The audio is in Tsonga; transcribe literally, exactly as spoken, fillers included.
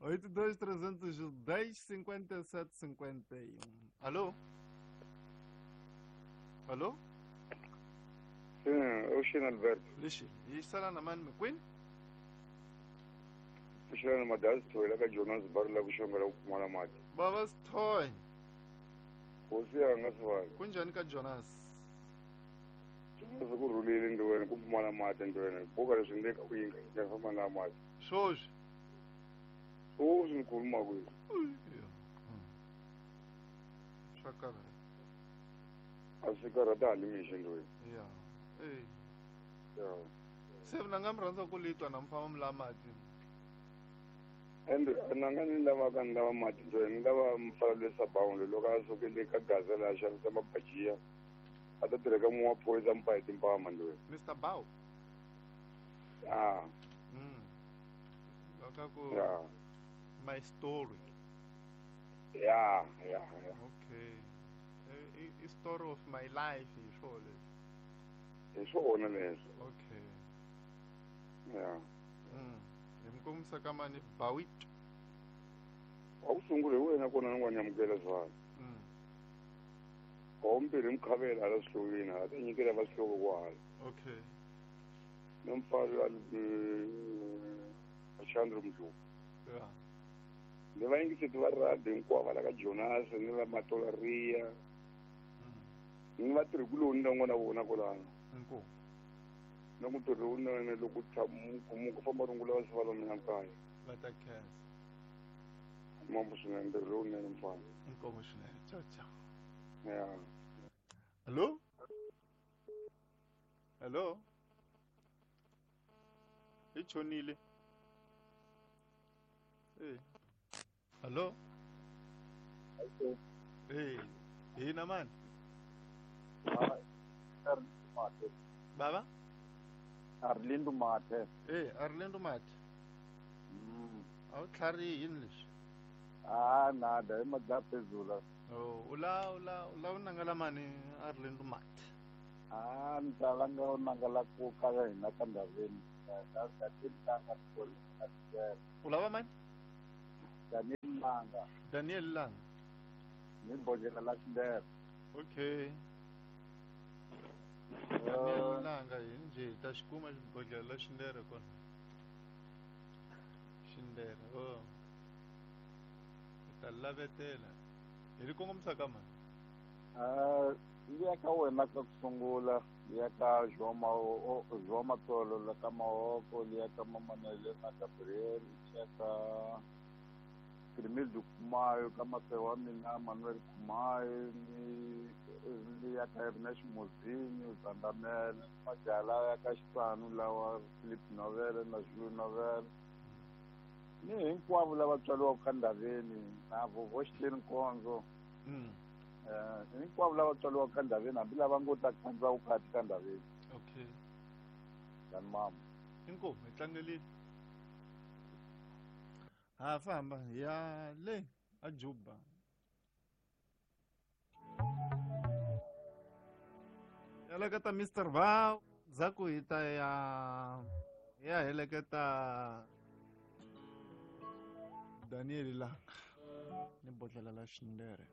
oito dois trezentos e dez, cinquenta e sete, cinquenta e um. Alô? Alô? Sim, eu sou Alberto. Lixi, e está na mano McQueen? Puxando uma das toilha que Jonas Barla kushongela ukumala mati. Baba Toy. Hosi yanga swa. Kunjani ka Jonas? Jonas ku rhulile ndweni ku pfumala mati ndweni. Buka leswi ndeka ku yinga nga famba na mati. Swoswi. Swoswi ni khuluma ku. Swa karhata. A swi karhata hali mixo ndweni. Ya. Eh. Ya. Se mina nga mi rhandza ku litwa na mfama mi la mati. And nanga ni lava ka ni lava mati ndweni ni lava mfana lesa bawundi loko a sukele ka gaza la xavisa mabajiya a ta tirheka mun'we wa phorisa mpa hi timpama ndweni. Mister Bow. Ah. Mm. Loko ku yeah. My story. Yeah, yeah, yeah. Okay. I, I story of my life hi swona leswi. Hi swona leswi. Okay. Yeah. Mm. Hi mi kombisa ka mani Bawit. Wa ku sungula hi wena kona ni n'wa nyamukela swona. Mm. Wa vumbirhi mukhavela hala swihlokweni hala ta nyikela va swihloko kwahala. Okay. Na mfana wa Chandru Mdlopfu. Yeah. Ni va yingiseti va radio hinkwavo la ka Jonas ni va Matolaria. Ni va tirhikuloni na n'wana vona kwalano. Inkomu. Na ku ntirho lowunene loko tshama ku famba rungula va swi va mina kaya. Va ta khensa. Mambo swinene ntirho lowunene mfana. Inkomu swinene. Ciao ciao. Yeah. Hello? Hello? I chonile. Eh. Hello? Hello. Eh, hina man. Ah, Arlindo. Baba? Arlindo Mate. Eh, Arlindo Mate. Mm. Awu tlhari yini leswi? Ah, nada, i madlapezula. Oh, ula ula ula u nangala mani Arlindo Mate. Ah, ni ta langa u nangala ku ka hina ka ndhaveni. Ka ka tintanga U lava mani? Daniel Langa. Daniel Langa. Ni bodlela la Xindere. Okay. Daniel Langa hi njhe hi ta xi kuma xibodlela la Xindere kona. Xindere, oh. Hi ta lavetela. Hi ri kongomisa ka mani? Ah, liya ka wena ka ku sungula, liya ka João João Matolo la ka Mahoko, liya ka Mamanele na Gabriel, liya ka Crimildo Kumayo, ka Mateo wa mina Manuel Kumayo, ni liya ka Ernest Mozinho, Zandamela, Majala ya ka Xitsanu lawa Philip Novele na Jules Novele. Ni hinkwavo lava tswariwaka ka ndhaveni na vovo Xitleni Nkondzo. Mm. Eh, hinkwavo lava tswariwaka ka ndhaveni hambi lava ngo ta khandza vukati ka ndhaveni. Okay. Tani mama. Inkomu hi tlangelile. Ha famba hi ya le a Juba. Heleketa Mister Val, ndzhaku hi ta ya ya heleketa Daniel Langa ni bodlela la Xindere.